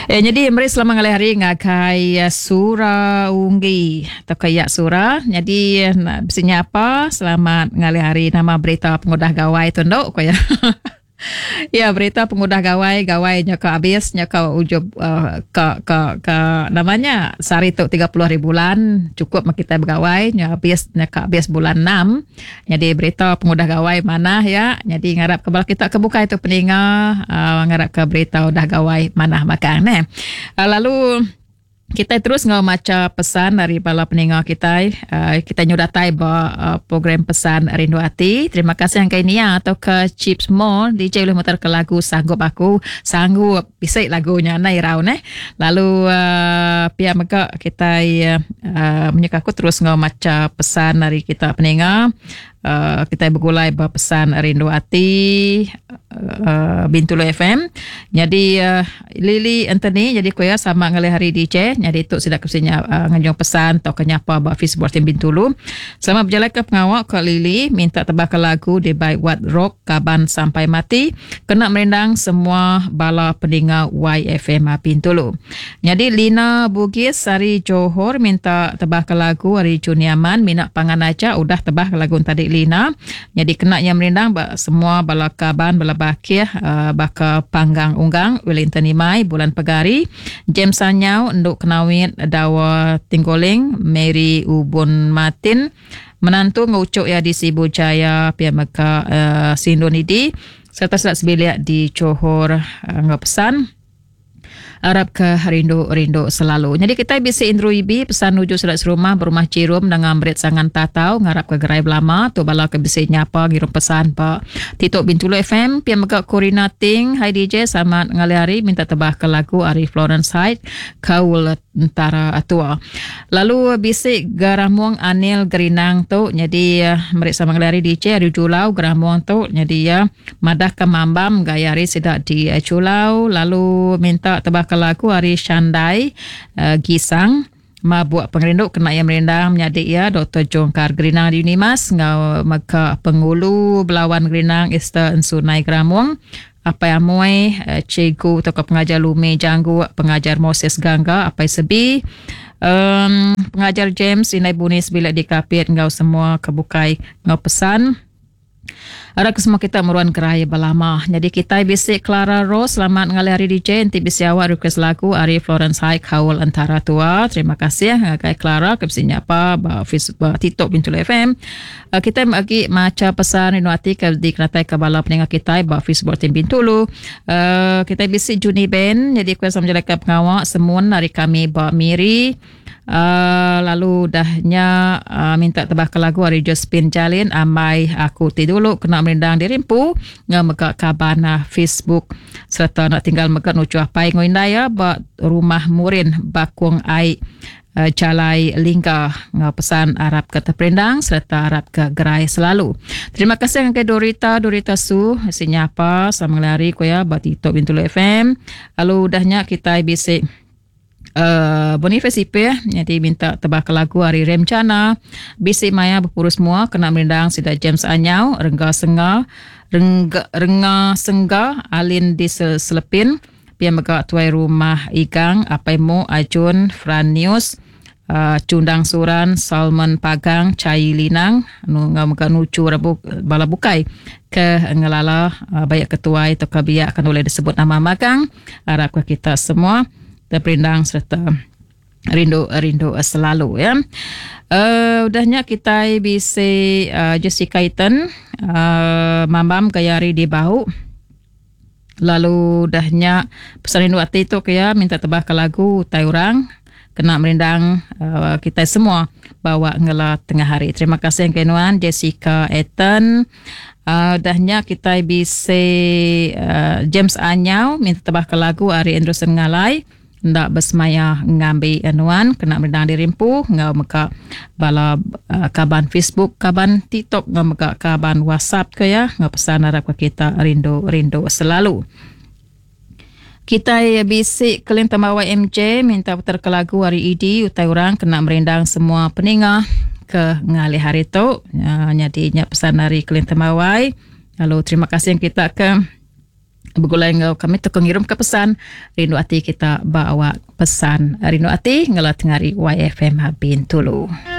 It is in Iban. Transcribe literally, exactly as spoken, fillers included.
Eh, jadi meri selamat ngalih hari ngagai Sura Unggi atau kayak Sura. Jadi nak bisinya apa? Selamat ngalih hari, nama berita pengudah gawai tu nduk ko ya. Ya, berita pengudah gawai, gawai nya ka habis nya ka ujub uh, ka ka ka namanya sehari tu tiga puluh hari bulan cukup mak kita begawai nya habis nya ka habis bulan enam. Jadi berita pengudah gawai mana ya. Jadi ngarap ke bala kita ke bukai tu peninga uh, ngarap ke berita udah gawai manah makan ne. Uh, lalu kita terus ngau maca pesan dari bala peninga kita. Uh, kita nyudatai ba uh, program pesan Rindu Ati. Terima kasih yang kainia atau ke Chips Mall D J boleh mutar ke lagu Sanggup Aku. Sanggup bisik lagunya nai rau neh. Lalu uh, pihak mega kita uh, menyeka aku terus ngau maca pesan dari kita peninga. Uh, kita bergulai ba pesan Rindu Ati uh, Bintulu F M. Jadi uh, Lily Anthony jadi kuya sama ngalih hari D J. Jadi tu sudah kesinya uh, nganjung pesan atau kenyapa ba Facebook tim Bintulu. Selamat berjalan ke pengawak ke Lily minta tebak ke lagu di by What Rock Kaban Sampai Mati kena merindang semua bala pendengar Y F M Bintulu. Jadi Lina Bugis hari Johor minta tebak ke lagu hari Juniaman minat pangan aja udah tebak ke lagu tadi Lina. Jadi kena yang merindang ba, semua bala kaban bala bakir uh, baka panggang unggang Wellington Imai bulan Pegari James Sanyau Nduk Kenawit Dawa Tinggoling Mary Ubun Martin menantu ngucuk ya di Sibu Jaya pihak meka uh, Sindonidi serta selat sebilik di Johor uh, ngau pesan Arab ke rindu-rindu selalu. Jadi kita bisa Indru Ibi pesan nuju surat serumah berumah Cirum dengan berit sangan tatau ngarap ke gerai belama tu bala ke bisa nyapa ngirum pesan Pak Tito Bintulu F M pia mega Corina Ting. Hai D J, selamat ngalih hari minta tebah ke lagu Ari Florence Hyde Kaul Tentara Atua. Lalu bisik Garamuang Anil Gerinang tu jadi merik sama ngalih hari D J Ari Julau Garamuang tu jadi ya madah ke mambam gaya hari sedak di Julau lalu minta tebah ke lagu Ari Shandai uh, Gisang mabuk pengerindu kena yang merindang menyadik ya Doktor Jongkar Gerinang di Unimas ngau maka pengulu Belawan Gerinang Esther Ensunai Gramung Apai Amoy uh, cikgu tokoh pengajar Lumi Janggu pengajar Moses Gangga Apai Sebi um, pengajar James Inai Bunis bila dikapit ngau semua kebukai ngau pesan Ada semua kita meruan gerai belama. Jadi kita bisik Clara Rose selamat ngalih hari D J nanti bisik awak request lagu Ari Florence High Kaul Antara Tua. Terima kasih ngagai Clara ke bisik nyapa ba Facebook ba TikTok Bintulu F M. Uh, kita lagi maca pesan Rindu Ati ke di kenatai ke bala pendengar kita ba Facebook tim Bintulu. Uh, kita bisik Juni Ben jadi kuasa menjalankan pengawak semun dari kami ba Miri. Uh, lalu dahnya uh, minta tebah ke lagu Ari Josephine Jalin Amai Aku Ti Dulu kena merindang dirimpu ngemegak kaban uh, Facebook serta nak tinggal megak nuju apai ngoindaya ba rumah Murin Bakung Ai uh, Jalai Lingga ngau pesan Arab ke terperindang serta Arab ke gerai selalu. Terima kasih ke Dorita Dorita Su sinya apa sama ngelari ko ya ba TikTok Bintulu F M. Lalu dahnya kita bisik Uh, Boniface I P jadi minta tebah ke lagu Ari Remcana bisik maya berpurus semua kena merindang sida James Anyau Rengga Senga Rengga, Rengga Sengga Alin di Selepin pia mega tuai rumah Igang Apai Mo Ajun Franius uh, Cundang Suran Salman Pagang Cai Linang nu ngau mega nucu rabu bala bukai ke ngelala uh, banyak ketuai atau kabiak akan boleh disebut nama magang harap ke kita semua terperindang serta rindu-rindu selalu ya. Uh, udahnya kita bisa uh, Jessica Eaton uh, mambam gayari di bahu. Lalu udahnya pesan rindu ati tu ya minta tebah ke lagu tai orang kena merindang uh, kita semua bawa ngela tengah hari. Terima kasih kenuan Jessica Eaton. Uh, dahnya kita bisa uh, James Anyau minta tebah ke lagu Ari Anderson Ngalai. Ndak bersemaya ngambil anuan kena merindang dirimpu ngau meka bala uh, kaban Facebook kaban TikTok ngau meka kaban WhatsApp ke ya ngau pesan harap ke kita rindu-rindu selalu. Kita bisik kelin tamawai M J minta putar ke lagu Hari I D utai orang kena merindang semua peningah ke ngalih hari tu uh, jadi nya pesan dari kelin tamawai. Lalu terima kasih yang kita ke Begulai enggau kami tu ngirum ke pesan rindu ati kita bawa pesan rindu ati ngela tengari Y F M Bintulu.